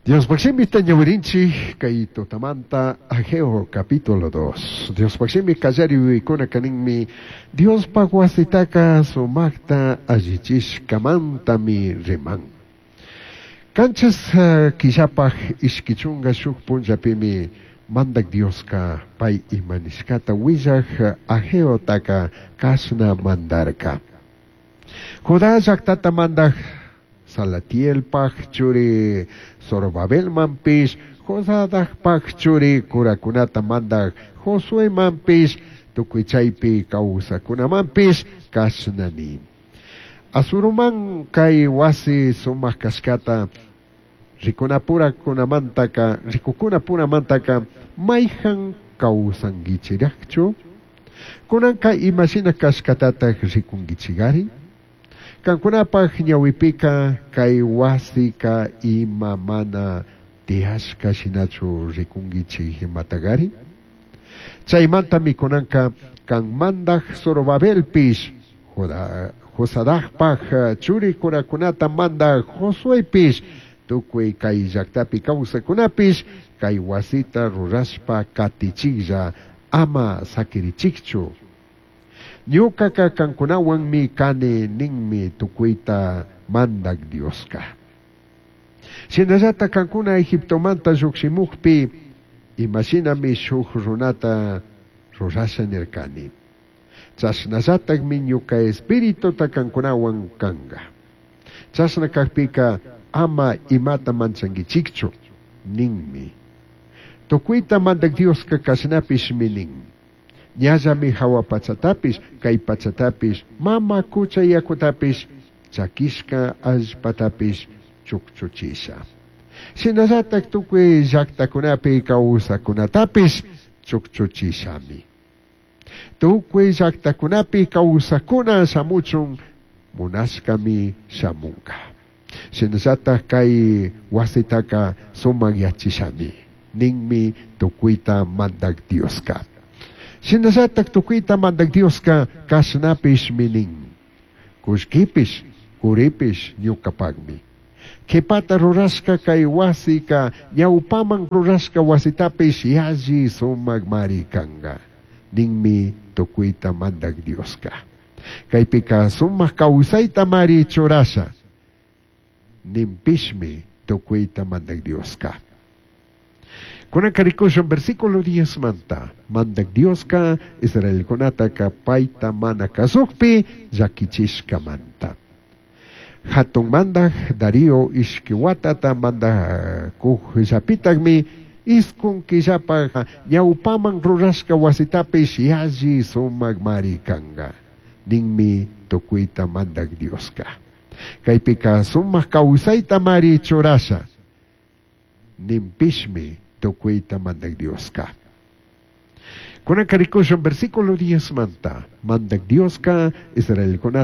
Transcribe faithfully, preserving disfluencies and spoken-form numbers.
Diospaj shimita ñawirinchik kay tutamanta Ageo capítulo dos. Diospaj shimi kallari yuyaykunaka ninmi Diospaj wasitaka sumakta allichishkamantami riman. Qanchis killapaj ishqui chunga shuk punllapimi Mandak Dioska pay ima nishkata willaj Ageotaka kashna mandarka. Judá llaqtata mandaj Salatielpaj churi Zorobabelmanpish, Josadacpaj churi curakunata mandaj Josuemanpish, tukuy chaypi kawsakunamanpish kashna nin. Asuruman kay wasi sumak kashkata rikunapurakunamantaka rikukunapuramantaka mayjan kawsankichiraqchu? Kunanka imashina kashkatataq rikunkichigari? Kankunapaj ñawipika kay wasika ima mana tiyashka shinachu rikunkichik imatagari? Chaymantami kunanka kan mandaj Zorobabelpish, Josadacpaj churi curakunata mandaj Josuepish, tukuy kay llaqtapi kawsakunapish kay wasita rurashpa katichiklla ama sakirichikchu. Ñukaka kankunawanmi kani ninmi tukuyta mandak Dioska. Shinallata kankuna Egiptomanta lluqshimukpi imashinami shuk runata rurasha nirkani. Chashnallatakmi ñuka espirituta kankunawan kanga. Chashna kakpika ama imata manchankichikchu ninmi. Tukuyta mandak Dioska kashnapishmi nin. Ñallami hawa pachatapish, kay pachatapish, mama kucha yakutapish, chakishka allpatapish chukchuchisha. Shinallatak tukuy llaqtakunapi kawsakunatapish chukchuchishami. Tukuy llaqtakunapi kawsakuna shamuchun munashkami shamunka. Shinallatak kay wasitaka sumakyachishami ninmi tukuyta mandak Dioska. Shinallatak tukuyta mandak Dioska kashnapishmi nin. Kullkipish, kuripish ñukapakmi. Kipata rurashka kay wasika ñawpaman rurashka wasitapish yalli sumakmari kanka. Ninmi tukuyta mandak Dioska. Kaypika sumak kawsayta mari churasha. Ninpishmi tukuyta mandak Dioska. Kunanka rikushun versículo diez manta. Mandak Dioska Israelkunataka payta mana kasukpi llakichishkamanta. Hatun mandak Darío ishki watata mandakuqllapitakmi iskun killapaj ñawpaman rurashka wasitapish yalli sumakmari kanka. Ninmi tukuyta mandak Dioska. Kaypika sumak kawsayta mari churasha. Ninpishmi tukuyta mandak Dioska. Kunanka rikushun versículo diez manta. Mandak Dioska Israelkunata